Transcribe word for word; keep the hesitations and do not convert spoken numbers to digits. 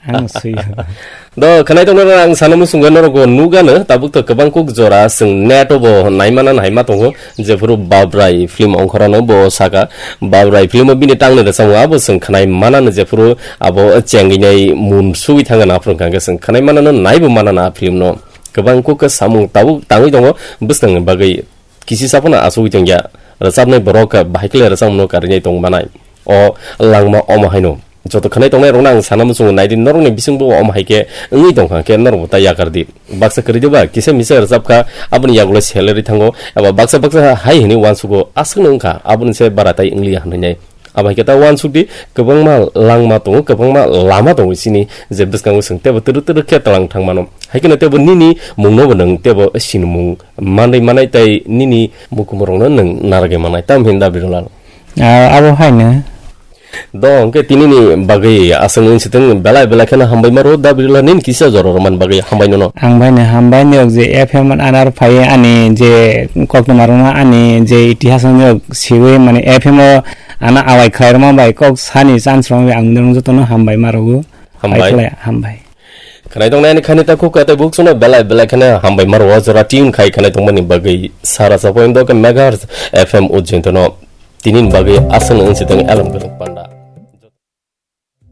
Ang sui. Do khwnai tongna ang sana muchungo norok bo nugano tabuk to kwbang kuk jora chwng net o bo naimana naima tongo, jephuru Babrai film ongkhorano bo saka. Babrai film o bini tangni rwchapmung abo chwng khwnai manano, jephuru abo chengwi nai mun sugwi thangana aphuru hwnkha hwnkhe chwng khwnai manano naibo manana a film no. Kwbang kuk khe samung tabuk tangwi tongo bwskangni bagwi. Kisi saphano achugwi tongya, rwchapnai borok bahai khe rwchapmano karinai tong manai. O langma omo haino. Joto khwnai tongnai rokno ang sana muchungo naidi, norokni bisingbo omo hai khe wngwi tongkha khe norokbo ta yakar di. Baksa kwrwi diba kisa misa rwchapkha, aboni yagulo salary thango, eba baksa baksa hai hwnwi uansugo aswkno wngkha, aboni se bara tai wngliya hwnwi nai. Abo hai khe ta uansuk di, kwbangma langma tongo, kwbangma lama tongo chini, je bwskango chwng teibo twrwk twrwk khe tlang thang mano. Hai kheno teibo nini mungno bo nwng teibo sinimung manwi manai tei nini mukumurokno nwng narwgwi manai. Tamo hin da Birulal? Ah, abo haino. Do hwnkhe tinini bagwi aswk wng sitwng belai belai kheno hambai maro da Birulal nini kisa jora rwmani bagwi hambai nono. Ang bai no hambai nok je F M anar phai ani je koktwma rwma ani je itihas nok siwi mane F M o ana awai khlai rwma bai kok sani chance rwma bai ang nwng jotono hambai maro. Hambai. Bai khlai hambai. Khwnai tongnai ani khani ta khuk katai buk suno belai belai kheno hambai maro o jora tune khai khwnai tongmani bagwi sara sa point do ke megahertz F M ujintono tinini bagwi aswk wng sitwng alam kwrwng pan.